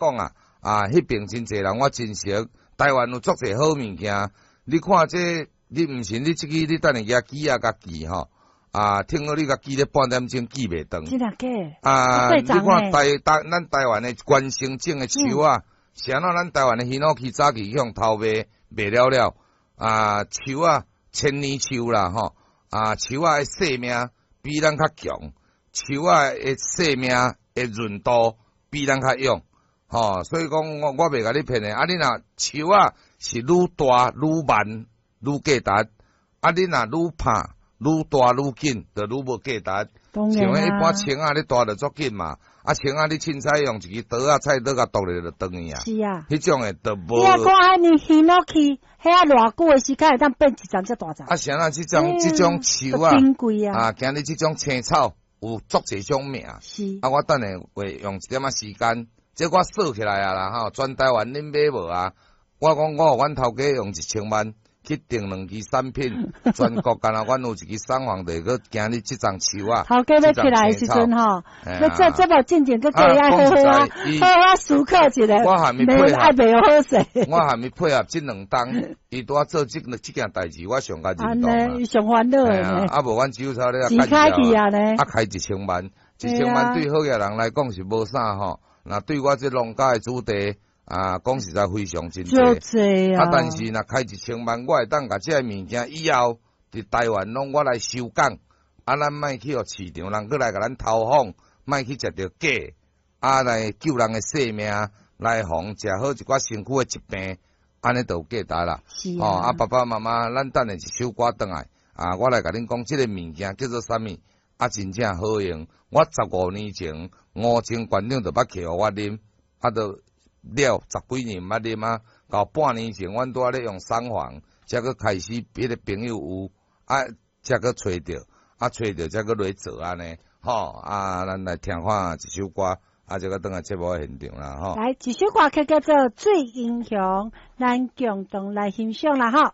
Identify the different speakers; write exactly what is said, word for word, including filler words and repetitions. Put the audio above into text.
Speaker 1: 講啊，啊，彼爿真濟人我真熟，台灣有足濟好物件。你看這，你毋信你這支你等下舉機仔共記吼，啊，聽講你共記咧半點鐘記袂斷。
Speaker 2: 真的假？
Speaker 1: 啊，你看台台咱台灣的關生種的樹仔，是按怎咱台灣的ヒノキ早期去予偷賣賣了了，啊，樹仔千年樹啦吼，啊，樹仔的生命比咱較強，樹仔的生命的韌度比咱較勇，吼，所以講我我袂共你騙的，啊，你若樹仔是愈大愈慢愈價值，啊，你若愈拍愈大愈緊，就愈無價值。像彼一般青仔，你大就足緊嘛，啊，青仔你凊彩用一支刀仔、菜刀共剁咧就斷去啊。
Speaker 2: 是啊。
Speaker 1: 彼種的就無。
Speaker 2: 你啊，講按呢ヒノキ，遐偌久的時間會當變一層遮大層？
Speaker 1: 啊，啥啦？這種這種樹啊，啊，今日這種青草有足濟種名。
Speaker 2: 是。
Speaker 1: 啊，我等下會用一點仔時間，這我算起來啊啦吼，全台灣恁買無啊？我講我予阮頭家用一千萬去訂兩支產品，全國干焦阮有一支產房，就閣今日這叢樹仔。
Speaker 2: 頭家欲起來的時陣吼，欲做節目進前，閣過愛好好啊，好好思考一下。
Speaker 1: 我還沒配合，
Speaker 2: 愛袂好勢。
Speaker 1: 我還沒配合這兩冬，伊拄仔做這這件代誌，我上較認同啊。
Speaker 2: 伊上煩惱的。
Speaker 1: 啊，無阮酒草咧，
Speaker 2: 錢開去啊呢？
Speaker 1: 啊，開一千萬，一千萬對好額人來講是無啥吼，若對我這農家的子弟。啊，講實在非常真濟，
Speaker 2: 啊，
Speaker 1: 但是若開一千萬，我會當共這个物件以後佇台灣攏我來收工，啊，咱莫去予市場人閣來共咱偷仿，莫去食著假，啊，來救人的性命，來防食好一寡身軀的疾病，按呢就有價值啦。
Speaker 2: 是
Speaker 1: 啊。啊，爸爸媽媽，咱等下一首歌轉來，啊，我來共恁講這个物件叫做啥物，啊，真正好用。我十五年前吳清館長就捌摕予我啉，啊，就。了十幾年毋捌啉啊，到半年前，阮拄仔咧用產房，才閣開始彼个朋友有啊，才閣揣著，啊揣著才閣落做按呢，吼啊，咱來聽看一首歌，啊，才閣轉來節目現場啦，吼。
Speaker 2: 來，一首歌曲叫做《水英雄》，咱共同來欣賞啦，吼。